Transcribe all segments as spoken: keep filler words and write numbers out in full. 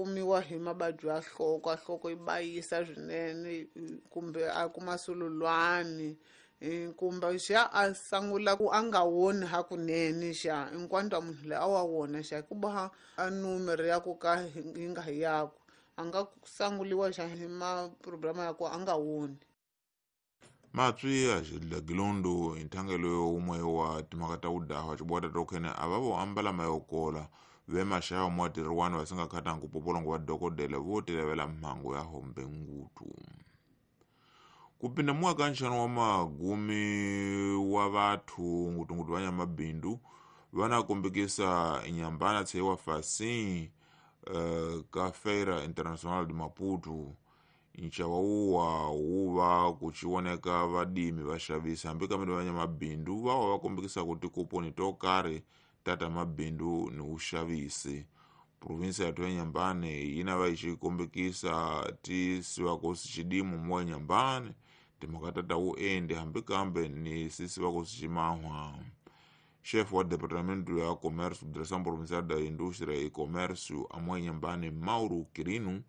Kumiwa hi mavabyi ya nhloko, a nhloko yi bayisa swinene kumbe a kuma sululwani kumbe xa a sungula ku a nga woni hakunene xa hinkwato munhu loyi a wa wona xa ku boha a numero ya ku ka yi nga hi yakwe a nga sanguliwa xa hi ma-problem ya ku a nga woni. Matswi a xilagilondo inthangelo umwe wa timhaka ta wudahwa xibwata tokhene a va vo ambala mayokola ve maxava muatirhi va singa khatanga ku popolongo wa dokodela vo tilavela mhangu ya hombe ngutu. Kupinda mwaka nxano wa magumi wa vathu ngutungutu va nyamabindu vana kombekisa inyambana tshewa fasi uh, ka Feira Internacional de Maputo. Nxava wuwa wuva kuchioneka vadimi vaxavisi hambi kambe va nyamabindu va va kombekisa ku tikuponi to karhi tata mabindu ni uxavisi. Provinsia ya Nyambane yina va yi kombekisa ti siwa ko xidimu mo Nyambane timhaka tata wu endi hambi kambe ni sisiwa ko ximahwa. Chef wa Departamento ya Comércio, Direção Provincial da Indústria e Comércio a Nyambane Mauro Quirino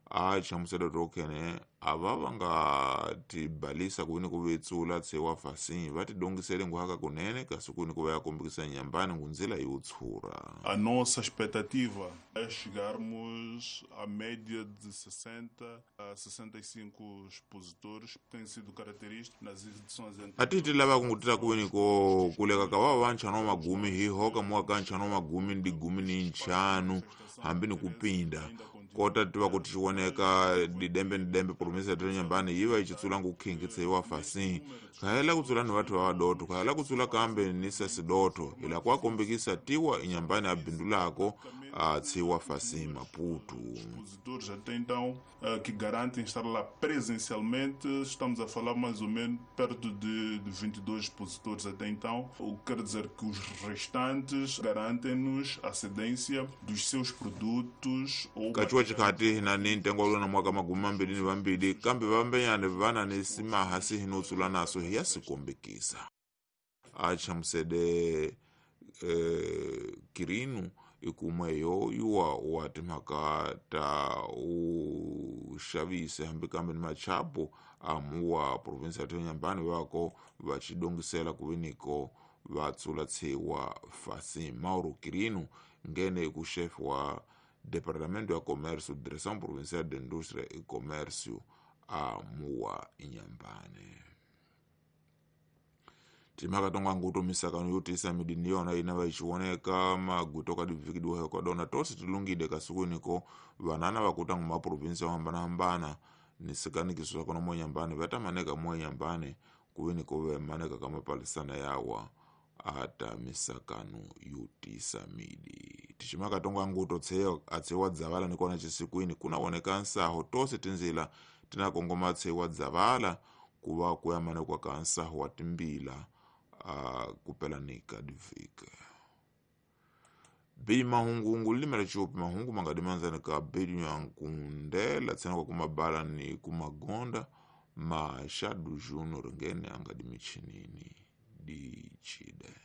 a hlamusela tokhene a va va nga tibalisa ku ni ku vetsula tsewa fasi va tidongisele nguhaka kunene kasi ku ni ku va ya kombekisa Nyambane ngunzila yo tshura. A nossa expectativa é chegarmos à média de sessenta a sessenta e cinco expositores, que tem sido característico nas edições anteriores. A ti ti lava ku ngutila ku ni ko kuleka ka va va nchano magumi hi hoka mwaka nchano magumi ndi gumi ni nchanu hambi ni kupinda kota tiva ku tioneka didembe ni dembe provinsia ya Nyambane yi va yi xitsula ngu khingi tsewa fasi khayela ku tsula ni vathu va vadoto khayela ku tsula kambe ni sesidoto ila kwa kombekisa tiwa inyambane a bindulako a tsewa fasi Maputo. Expositores até então que garantem estar lá presencialmente, estamos a falar mais ou menos perto de, de vinte e dois expositores até então, o que quer dizer que os restantes garantem-nos a cedência dos seus produtos ou kachiwa chikhati na ni ntengo lona mwaka magumi mambili ni vambili kambe vambenyane vana ni simaha sihino tsula naso hi ya sikombekisa. A hlamusele eh, Kirinu ikumwe yo yuwa wa timhaka ta uxavisi hambi kambe ni machapo amuwa provinsia ya Nyambane vako va xidongisela ku viniko va tsula tshewa fasi. Mauro Quirino ngene ku chef wa Departamento ya Comércio, Direção Provincial de Indústria e Comércio amuwa Nyambane. Timhaka tonga nguto misakano yo tisa midini yona ina va xioneka maguto ka divikidiwa ka dona tosi tilungide kasukuniko vanana va kuta nguma provinsia yo hambanahambana ni sikanikiso swa kona mo Nyambane va ta maneka mo Nyambane ku viniko ve maneka ka mapalisana yawa ata misakano yo tisa midi. Tiximaka tonga nguto tseyo a tsewa dzavala ni kona xisikwini kuna voneka nsaho tosi tindzila tina kongoma tsewa dzavala ku va ku ya manekwa ka nsaho wa timbila a kupelanika divika. Bei mahungu limela chupi mahungu mangadimanzani ka bedi ya nkundela tsena kwa kumabala ni kumagonda mashadu juno ringene angadimichinini di chide.